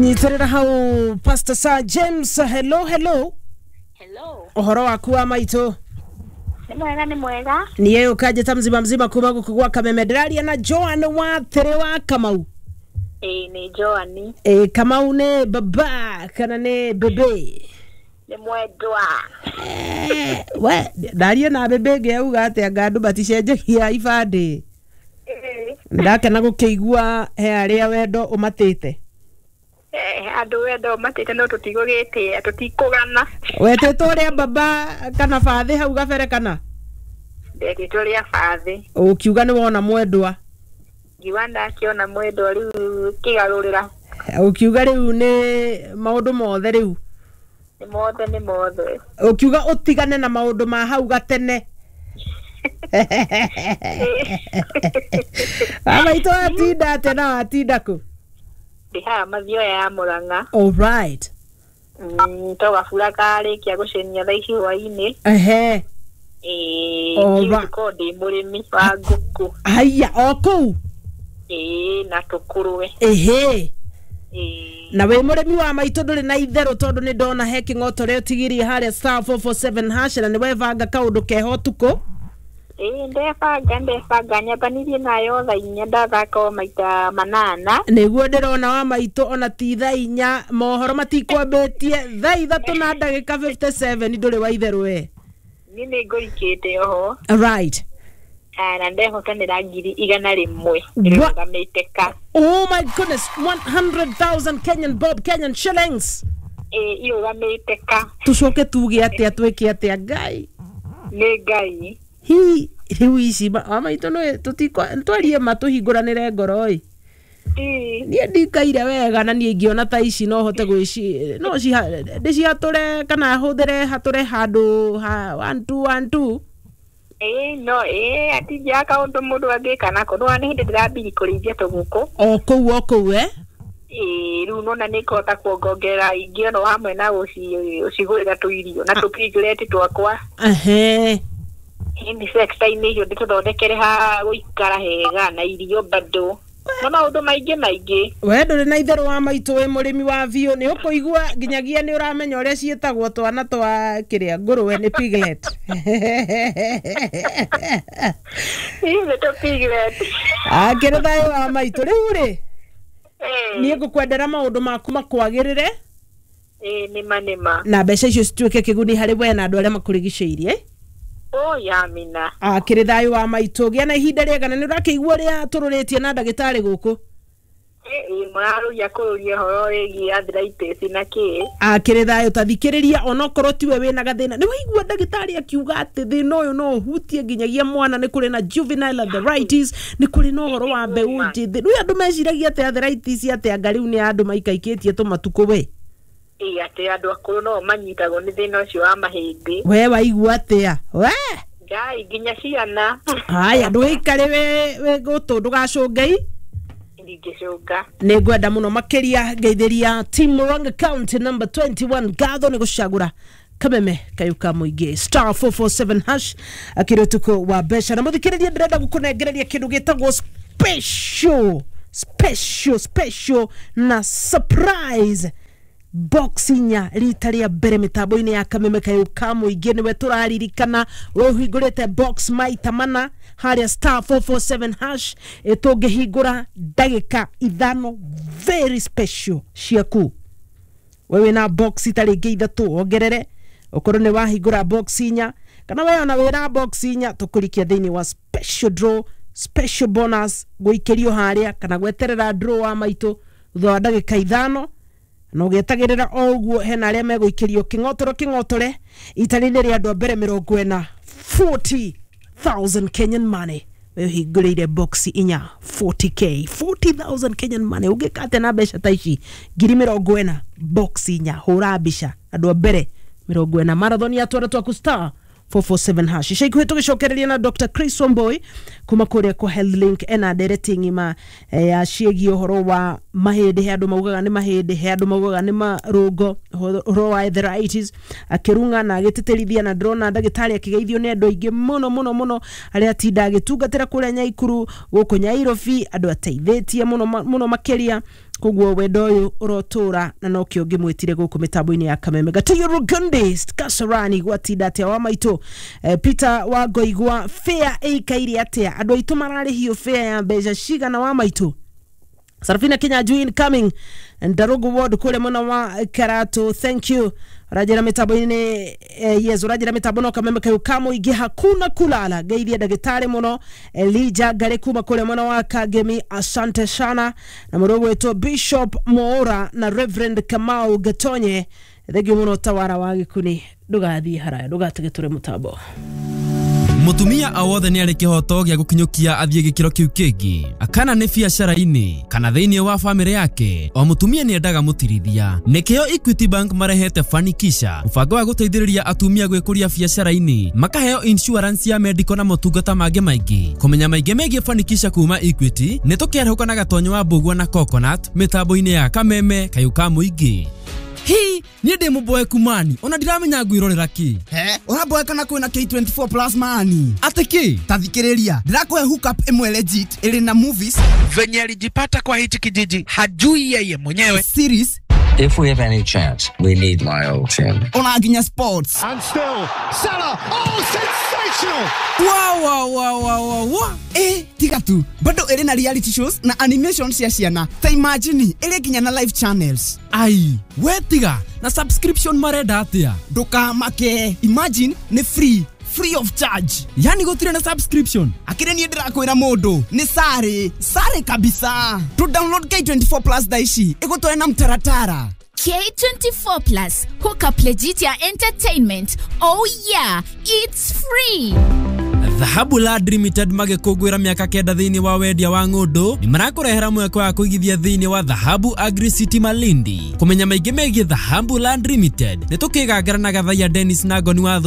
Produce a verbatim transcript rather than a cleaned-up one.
Nyitĩrĩra hau Pastor Sir James. Hello, hello. Hello. Ũhoro waku wa maitũ? Nĩ mwega, nĩ mwega. Niĩ ũkanjĩta mzima mzima kuma gũkũ gwa Kameme. Ndĩraria na Joan wa Tĩrĩ wa Kamau. Ĩĩ, nĩ Joan. Ĩ, Kamau nĩ baba kana nĩ bebe? Nĩ mwendwa. Eh, we ndaria na bebe ĩngĩ auga atĩ anga andũ maticenjagia ibandĩ. Ĩĩ. Ndakena gũkĩigua he arĩa wendo ũmatĩte. Eh, andũ wendo matĩte no tũtigũgĩtĩa, tũtikũgana. Wetĩtwo ũrĩa baba kana bathĩ hau gabere kana? Ndetĩtwo rĩa bathĩ. Ũkiuga nĩ wona mwendwa. Ngiuga ndakĩona mwendwa rĩu kĩgarũrĩra. Ũkiuga rĩu nĩ maũndũ mothe rĩu. Nĩ mothe, nĩ mothe. Ũkiuga ũtigane na maũndũ ma hau gatene. Amaitũ watinda atĩa na watinda kũ? Ndĩ haha Mathioya ya Mũrang'a. All right. Mm, to gabura karĩkia gũcenia thaa ici hwainĩ. Ehe. Ĩĩ, All niĩ right. ngũkorwo ndĩ mũrĩmi wa ngũkũ. Haiya, o kũu? Ĩĩ, na tũkũrwe. Ehe. Ĩĩ. Na wĩ mũrĩmi wa maitũ ndũrĩ na itherũ tondũ nĩ ndona he kĩng'otore ũtigirie harĩa star four four seven hash na nĩ webanga kaũndũ keho ũtukũ. Ĩĩ, ndebanga, ndebanga nyambanirie nayo thaa inya, ndathaka o maita manana. Nĩguo ndĩrona wa maitũ ona ti thaa inya mohoro matikwambĩtie thaa ithatũ na ndagĩka fifty seven ndũrĩ wa itherũ we. Niĩ nĩ ngũikĩte oho. Right. Ah, na ndehotanĩra ngiri igana rĩmwe Wa- ĩrũgamĩte ka. Oh my goodness, one hundred thousand Kenyan bob, Kenyan shillings. Ĩĩ, irũgamĩte ka. Tũcoke tuge atĩa, twĩke atĩa Ngai? Nĩ Ngai. Hi, rĩu ici ma-, wa maitũ nĩ tũtikwa-, twarie ma tũhingũranĩre ngoro ĩ. Ĩĩ. Niĩ ndikaire wega na niĩ ingĩona ta ici no hote gwĩci-, no ciha-, ndĩcihatũre kana hũthĩre hatũre handũ ha one two one two. Ĩĩ, no, ĩĩ, atingiaga kaũndũ mũndũ angĩka nako. Nĩwona nĩ hĩndĩ ndĩrambirie kũrĩithia tũgũkũ. O kũu, o kũu, eh? Ĩĩ, rĩu nĩwona nĩ ngũhota kuongongerera ingĩ ono hamwe na gũci-, gũcigũrĩra tũirio na tũpiglet twakwa. Ehe. Ĩni sector-inĩ icio ndĩtũthondekere ha gũikara hega na irio bado. Na maũndũ maingĩ maingĩ. We ndũrĩ na itherũ wa maitũ wĩ mũrĩmi wa biũ, nĩ ũkũigua nginyagia nĩ ũramenya ũrĩa ciĩtagwo twana twa kĩrĩa ngũrũwe nĩ piglet. Ĩĩ, nĩ tũ piglet. Akĩrĩ thayũ wa maitũ. Rĩu rĩ, Ĩĩ. niĩ ngũkwendera maũndũ maku makwagĩrĩre. Ĩĩ, nĩma, nĩma. Na mbeca icio cituĩke kĩguni harĩ we na andũ arĩa makũrigicĩirie. Oh, yamina. Akĩrĩ thayũ wa maitũ, gĩa na ihinda rĩega na nĩ ũrakĩigua ũrĩa tũrũrĩtie na ndagĩtarĩ gũkũ. Ĩĩ, mũrarũria kũrũria ũhoro wĩgiĩ arthritis na kĩ. Akĩrĩ thayũ, ta thikĩrĩria onokorwo tiwe wĩna gathĩna. Nĩ waigua ndagĩtarĩ akiuga atĩ thĩna ũyũ no ũhutie nginyagia mwana, nĩ kũrĩ na juvenile arthritis, nĩ kũrĩ na ũhoro wa mbeũ njĩthĩ. Rĩu andũ meciragia atĩ arthritis atĩ anga rĩu nĩ andũ maikaikĩtie tũmatukũ we. Ĩĩ, atĩ andũ akũrũ no manyitagwo nĩ thĩna ũcio wa mahĩndĩ. We waigua atĩa? We? Ngai, nginya ciana. Haya, ndũgĩikare wĩ, wĩ gũtũ, ndũgacũnge. Ndingĩcũnga. Nĩ ngwenda mũno makĩria ngeithĩria Team Murang'a County number twenty-one ngatho nĩ gũcagũra Kameme kayũ ka mũingĩ star four four seven hash akĩrĩ ũtukũ wa mbeca. Na mũthikĩrĩria, ndĩrenda gũkũnengereria kĩndũ gĩtagwo special, special, special na surprise box inya rita rĩa mbere mĩtambo-inĩ ya Kameme kayũ ka mũingĩ. Nĩwe tũraririkana we ũhingũrĩte box maita mana harĩa star four four seven hash, ĩtũngĩhingũra ndagĩka ithano very special ciaku. We wĩna box itarĩ ingĩ ithatũ wongerere, ũkorwo nĩ wahingũra box inya kana we ona wĩna box inya, tũkũrikia thĩinĩ wa special draw, special bonus gũikĩrio harĩa kana gweterera draw wa maitũ thutha wa ndagĩka ithano. Na ũgĩetagĩrĩra o ũguo hena arĩa megũikĩrio kĩng'otoro kĩng'otore itari-inĩ rĩa andũ a mbere mĩrongo ĩna forty thousand Kenyan money. We ũhingũrĩire box inya forty K, forty thousand Kenyan money. Ũngĩka atĩa na mbeca ta ici ngiri mĩrongo ĩna box inya? Hũra mbica andũ a mbere mĩrongo ĩna marathon ya twara twaku star four four seven hash. Ica ikuhĩ tũgĩcokereria na Doctor Chris Wambui kuma kũrĩa kwa Health Link ena ndereti ng'ima, eh, ya ciĩgiĩ ũhoro wa mahĩndĩ. He andũ maugaga nĩ mahĩndĩ, he andũ maugaga nĩ marũngo, ũhoro wa arthritis akĩrung'a na agĩtĩtĩrithia, na ndĩrona ndagĩtarĩ akĩgeithio nĩ andũ aingĩ mũno mũno mũno arĩa atinda agĩtungatĩra kũrĩa Nyaikuru gũkũ Nyairobi, andũ ateithĩtie mũno mũno makĩria. Koguo wendo ũyũ ũrotũra na nokĩo ngĩmwĩtire gũkũ mĩtambo-inĩ ya Kameme. Gatuyo Rugundi Kasarani gwatinda atĩa wa maitũ? eh, Peter wa Ngoigwa, fare ĩikaire atĩa? Andũ aitũ mararĩhio fare ya mbeca cigana wa maitũ? Sarafina Kinyanjui incoming Ndarugu ward kule mwena wa Karatu, thank you. Urajira mitambo-inĩ eh, yes, urajira mitambo no Kameme kayu kamuingi hakuna kulala. Geithia ndagĩtarĩ mũno Elijah Ngari kuma kule mwena wa Kagemi, asante sana. Na mũndũ ũgwĩtwo Bishop Moora na Reverend Kamau Gatonye, thengio mũno. Tawara wa Gĩkuni, ndũgathiĩ haraya, ndũgatige tũrĩ mũtambo. Mutumia o wothe nĩ arĩ kĩhoto gĩa gũkinyũkia athiĩ gĩkĩro kĩu kĩngĩ, kana nĩ biacara-inĩ kana thĩinĩ wa bamĩrĩ yake. O mũtumia nĩ endaga mũtirithia. Nĩkĩo Equity Bank marehete Fanikisha, mũbango wa gũteithĩrĩria atumia gwĩkũria biacara-inĩ, makaheo insurance ya medical na motungata mangĩ maingĩ. Kũmenya maingĩ megiĩ Fanikisha kuma Equity, nĩ tũkĩarahũka na Gatonyo wa Mbũgua na Coconut mĩtambo-inĩ ya Kameme kayũ ka mũingĩ. Hi, niĩ ndĩ mũboeku mani, ona ndiramenya ngwĩrorera kĩ. He, ũraboeka na kwĩna K twenty-four plus mani. Atĩ kĩ? Ta thikĩrĩria, ndĩrakũhe hookup ĩmwe legit ĩrĩ na movies. Venye alijipata kwa hichi kijiji hajui yeye mwenyewe. Series. If we have any chance, we need my old team. Ona nginya sports. And still, Salah, oh, sensational! Wow, wow, wow, wow, wow, wow. Eh, tiga tu, bado ĩrĩ na reality shows na animation cia ciana. Ta imagine, ĩrĩ nginya na live channels. Ai, we tiga, na subscription marenda atia? Ndũkamake, imagine nĩ free. Free of charge. Yani gũtirĩ na subscription. Akĩrĩ niĩ ndĩrakwĩra mũndũ nĩ sare sare kabisa. To download K twenty-four plus thaa ici ĩgũtware na mtaratara. K twenty-four plus hookup legit ya entertainment. Oh yeah, it's free. Dhahabu Land Limited magĩkũngũĩra mĩaka kenda thĩinĩ wa wendia wa ng'ũndũ, nĩ marakũrehera mweke wa kũigithia thĩinĩ wa Dhahabu Agri City Malindi. Kũmenya maingĩ megiĩ Dhahabu Land Limited, nĩ tũkĩgangara na Gathaiya Dennis na Ngoni wa